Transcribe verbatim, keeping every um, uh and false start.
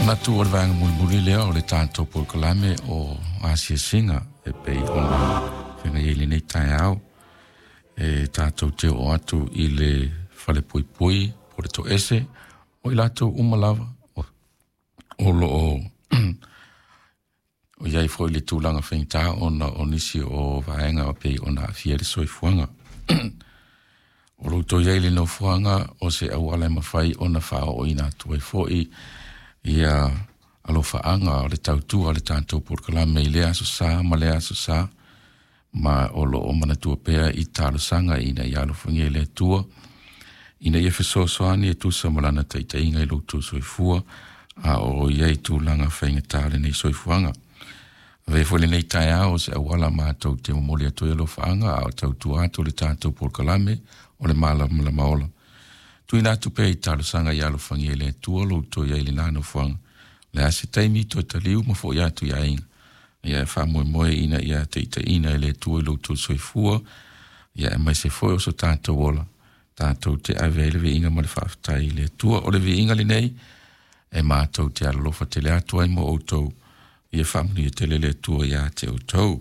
Manatu o le vaega mulimuli lea o le tatou polokalame o asiasiga e pei ona feagai ai i lenei taeao e tatou te oo atu i le falepuipui po o le toese o i latou uma lava o lo o o i ai foi le tulaga faigata ona o nisi o vaega e pei ona aafia ai le soifuaga. O lo outou i ai i le nofoaga o se auala e mafai ona faaooina atu ai foi ia alofaaga o le tautua o le tatou polokalame i lea aso Sa ma lea aso Sa, ma o lo o manatua pea i talosaga ina ia alofagia e le Atua ina ia fesoasoani e tusa ma lana taitaiga i lo outou soifua a o i ai tulaga faigata o lenei soifuaga. Avea foi lenei taeao o se auala matou te momoli atu ai alofaaga a o tautua atu le tatou polokalame o le Malamalama Ola. Tuuina atu pea i talosaga ia alofagia e le Atua lo outou i ai i lena nofoaga. Le a se taimi toe taliu ma foi atu i aiga. Ia e faamoemoe ina ia taitaiina e le Atua i lo outou soifua, ia aemaise foi o so tatou ola, tatou te ave ai le viiga ma le faafetai i le Atua. O le viiga lenei e matou te alolofa tele atu ai mo outou, ia faamanuia tele le Atua ia te outou.